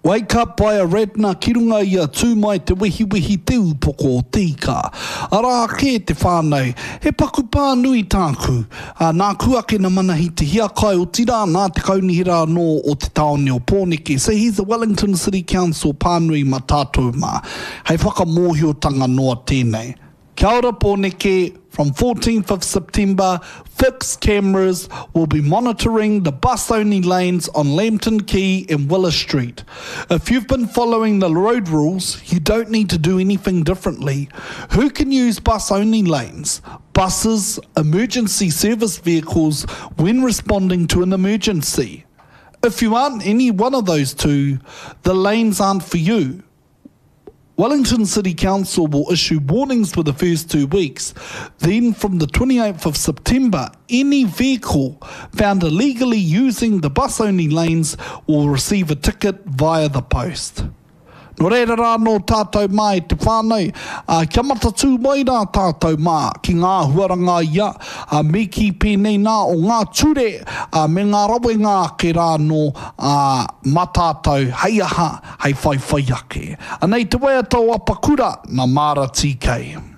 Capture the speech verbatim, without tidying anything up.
Wake Up by Ariadna ki runga i a Tū Mai Te Wehiwehi Te Ūpoko o Te Ika. Arā ake te whānau, he paku pānui tāku. Ā, nāku ake na Manahi Te Hiakai, otirā nā te kaunihera anō o te tāone o Pōneke. So he's the Wellington City Council pānui ma tātou mā. Hei whakamōhiotanga noa tēnei. Kia ora Pōneke, from fourteenth of September, fixed cameras will be monitoring the bus-only lanes on Lambton Quay and Willis Street. If you've been following the road rules, you don't need to do anything differently. Who can use bus-only lanes? Buses, emergency service vehicles when responding to an emergency. If you aren't any one of those two, the lanes aren't for you. Wellington City Council will issue warnings for the first two weeks. Then from the twenty-eighth of September, any vehicle found illegally using the bus-only lanes will receive a ticket via the post. Nō reira rā nō tātou mā e te whānau, ā, kia matatū mai rā tātou mā ki ngā huaranga ia, ā, me kī pēnei nā o ngā ture, ā, me ngā rawenga ake rā nō, ā, mā tātou hei aha, hei whaiwhai ake. Anei te waiata o Apakura, nā Māra TK.